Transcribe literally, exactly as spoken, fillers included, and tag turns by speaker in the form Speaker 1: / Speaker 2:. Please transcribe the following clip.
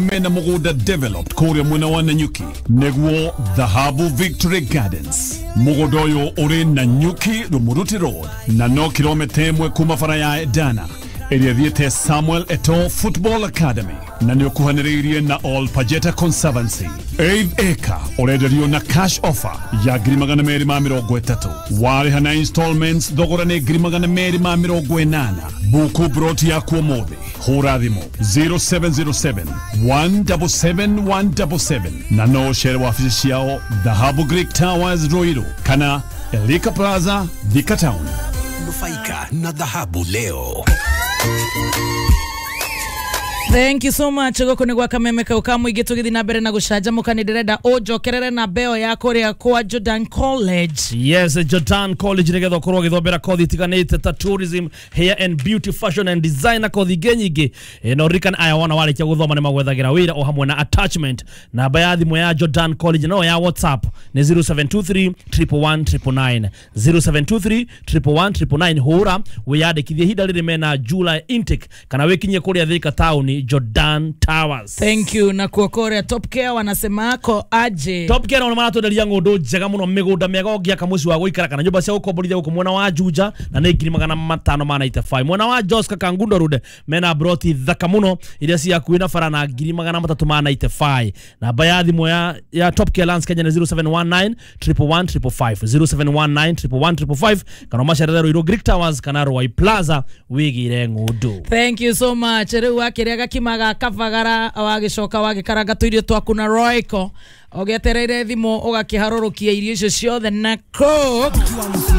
Speaker 1: Mena mũgũnda developed kũrĩa mwena wa Nanyuki, nĩguo Dhahabu Victory Gardens. Mũgũnda ũyũ ũrĩ Nanyuki Rumuruti Road na no kilomita ĩmwe kuma bara ya Edana ĩrĩa thiĩte Samuel Eto'o Football Academy, na nĩ ũkuhanĩrĩirie na Ol Pajeta Conservancy. Eighth acre ũrenderio na cash offer ya ngiri magana merĩ ma mĩrongo ĩtatũ. Warĩha na installments, thogora nĩ ngiri magana merĩ ma mĩrongo ĩnana. Buku broti yaku ũmũthĩ, hũra thimũ zero seven zero seven one seven seven one seven seven, na no ũcere wabici ciao Dhahabu Greek Towers, Ruiru, kana Elika Plaza, Thika Town.
Speaker 2: Nufaika na dhahabu leo.
Speaker 3: Thank you so much. Gũkũ nĩ gwa Kameme kau ka mũingĩ, tũgĩthiĩ na mbere na gũcanjamũka. Nĩ ndĩrenda ũnjokerere na mbeo ya kũrĩa kwa Jordan College.
Speaker 4: Yes, Jordan College, nigetha ũkorwo ũgĩthomera kothi itiganĩte ta tourism, hair and beauty, fashion and design na kothi ingĩ nyingĩ. E, na ũririkane aya wona warĩkia gũthoma nĩ magwethagĩra wĩra o hamwe na attachment. Namba ya thimũ ya Jordan College no ya WhatsApp nĩ zero seven two three one one nine nine nine, zero seven two three one one nine nine nine. Hũra wĩyandĩkithie ihinda rĩrĩ mena July intake, kana wĩkinyie kũrĩa Thika Town, Jordan Towers.
Speaker 3: Thank you. Na kuo kũrĩa Top Care wanasema ako aje?
Speaker 4: Top Care nao maratwenderia ng'ũndũ njega mũno, mĩgũnda mĩega ũngĩaka mũciĩ wa gũikara kana nyũmba cia gũkomborithia gũkũ mwena wa Juja, na nĩ ngiri magana matano ma ninety-five. Mwena wa Joska Kangundo Road mena broti thaka mũno iria ci hakuhĩ na bara na ngiri magana matatũ ma ninety-five. Namba ya thimũ ya, ya Top Care Lands Kenya nĩ zero seven one nine one one five five five, zero seven one nine one one five five five, kana ũmacerere Ruiru Greek Towers kana Ruai Plaza wĩgĩre ng'ũndũ.
Speaker 3: Thank you so much. Rĩu wakĩrĩa gakima ga kabagara, wagĩcoka wagĩkaranga tũirio twaku na Royco, ũgĩetereire thimũ, ũgakĩharũrũkia irio icio ciothe na Coke.